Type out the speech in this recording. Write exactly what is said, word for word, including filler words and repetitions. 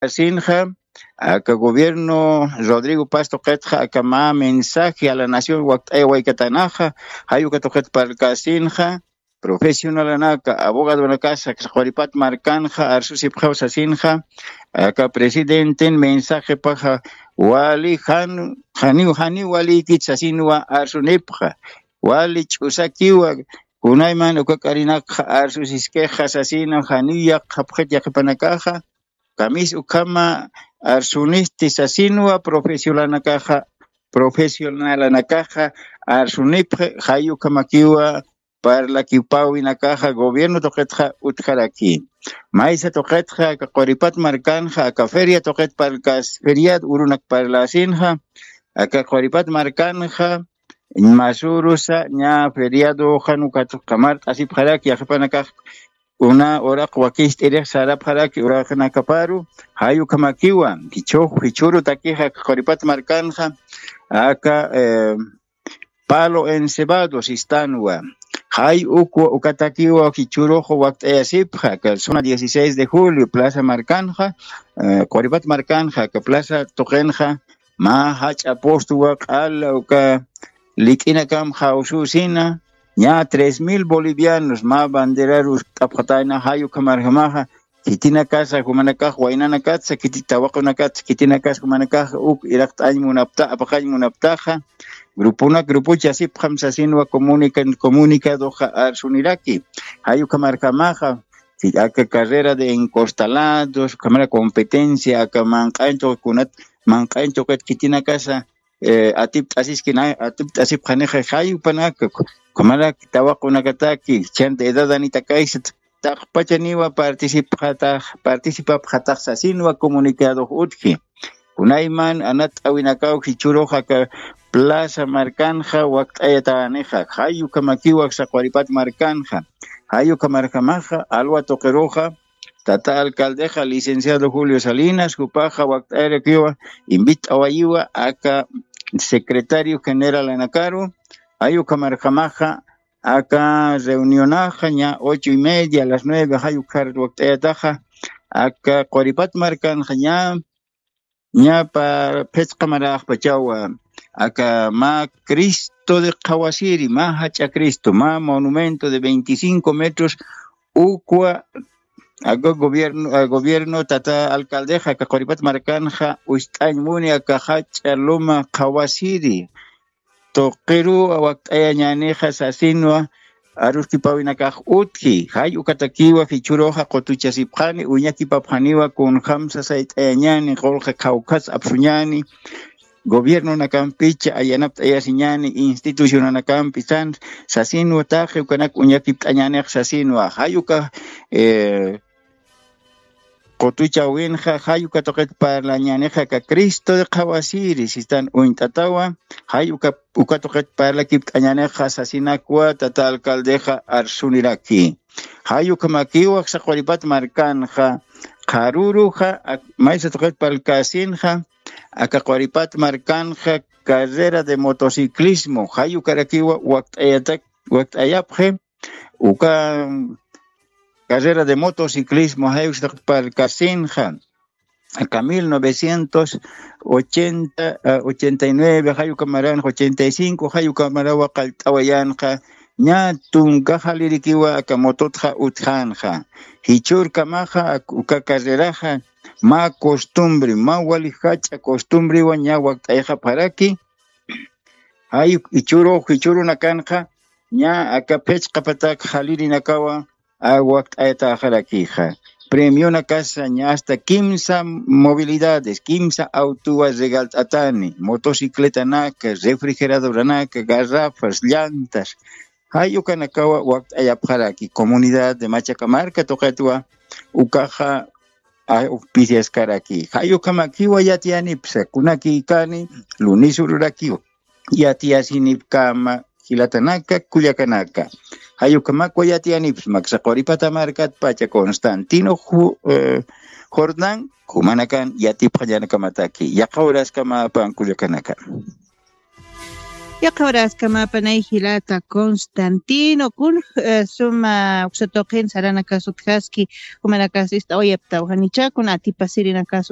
Asinxa aka gobierno Rodrigo Paz tuqitxa aka mä mensaje a la nación wakt'aya waykatanaxa, jay uka tuqit parlkasinxa profesionalanaka, abogadonakasa quripat markanxa arsusipxaw sasinxa, aka presidenten mensajepaxa wali jan janiw janiw walïkit sasinwa arsunipxa, wali ch'usakiwa, kunayman uka k'arinakxa arsusiskixa sasinwa janiw yaqxapxit yaqhipanakaxa, kamis ukhama arsunisti sasinwa profesionalanakaxa, profesionalanakaxa arsunipxi, jay ukhamakiwa parlakipäwinakaxa gobierno tuqitxa utjaraki. Maysa tuqitxa aka quripat markanxa aka feria tuqit parlkas feriad urunak parlasinxa, aka quripat markanxa masurusa ña feriadoxa nukat qamart'asipxaraki yaqhipanakax una uraq wakist'irix sarapxaraki uraqnakaparu, jay ukhamakiwa jichhux jichhürutakixa aka quripat markanxa aka eh, palo encebado sistanwa, jay ukwa ukatakiwa jichhürux wakt'ayasipxa aka zona dieciséis de julio plaza markanxa, eh, quripat markanxa aka plaza tuqinxa mä jach'a postwa q'ala uka lik'inakam jawsüsina, ña tres mil bolivianos mä banderaru t'apxatayna jay ukhamarjamaxa, khitinakasa jumanakax waynanakatsa khiti tawaqunakatsa khitinakas jumanakax uk iraqt'añ munapta apaqañ munaptaxa, grupunak grupuchasipxam sasinwa comunica comunicadoxa arsuniraki, jay ukhamarjamaxa aka carrera de encostalados ukhamara competencia aka manq'añ tuqikunat manq'añ tuqit khitinakasa eh, atipt'asiskina atipt'asipxanixa jayupanaka, ukhamaraki tawaqunakataki chanta edad anitakaysa taqpachaniwa participxatax participapxatax sasinwa comunicadox utji. Kunayman anat'awinakaw jichhürux aka plaza markanxa wakt'ayatanixa, jay ukhamakiwa saqwaripat markanxa, jay ukhamarjamaxa alwa tuqiruxa tata alcaldexa licenciado Julio Salinas jupaxa wakt'ayarakiwa invit'awayiwa aka secretario generalanakaru, jay ukhamarjamaxa aka reunionaxa ña ocho y media a las nueve jay ukharat wakt'ayataxa, aka quripat markanxa ña ña phisqa maraxpachawa aka mä Cristo de qhawasiri mä jach'a Cristo mä monumento de veinticinco metros, ukwa aka gobierno aka gobierno tata alcaldexa aka quripat markanxa ucht'añ muni aka jach'a luma qhawasiri tuqiruw wakt'ayañänixa sasinwa aruskipawinakax utji, jay ukatakiwa jichhüruxa qutuchasipxani uñakipapxaniwa kunjamsa sayt'ayañäni qulqi qhawkhas apsuñäni gobiernonakampicha ayanapt'ayasiñäni institucionanakampi san sasinwa taqi ukanak uñakipt'añänix sasinwa jay uka eh, qutuchawinxa jay uka tuqit parlañänixa aka Cristo de qhawasiri sistan uñt'atawa, jay uka uka tuqit parlakipt'añänixa sasinakwa tata alcaldexa arsuniraki. Jay ukhamakiwa saqwaripat markanxa qharuruxa maysa tuqit parlkasinxa aka quripat markanxa carrera de motociclismo jay ukarakiwa wakt'ayatak wakt'ayapxi uka carrera de motociclismo jay uksataq parlkasinxa aka mil novecientos ochenta ochenta y nueve jay ukamaranxa ochenta y cinco jay ukamarawa qallt'awayanxa ña tunka jalirikiwa aka mototxa utjanxa. Jichhürkamaxa uka carreraxa mä costumbre mä wali jach'a costumbrewa ña wakt'ayxapxaraki. Jay jichhürux jichhürunakanxa ña aka phichqa patak jalirinakawa wakt'ayataxarakixa. Premionakasa ña asta kimsa movilidades kimsa autowa regalt'atani motocicletanaka refrigeradoranaka garrafas llantas jay ukanakawa wakt'ayapxaraki comunidad de machaka marka tuqitwa ukaxa auspiciaskaraki jay ukhamakiwa yatiyanipsa kunakïkani lunis ururakiwa yatiyasinipkama jilatanaka kullakanaka. Jay ukhamakwa yatiyanipsa maksa quripata markatpacha constantino jordán jumanakan yatipxañanakamataki yaqha uraskamä pankullakanaka. Yaqhawraskamapa nay jilata constantino kun suma uksatuqin saranakasutjaski, jumanakasista uyaptawjanichakun atipasirinakasut.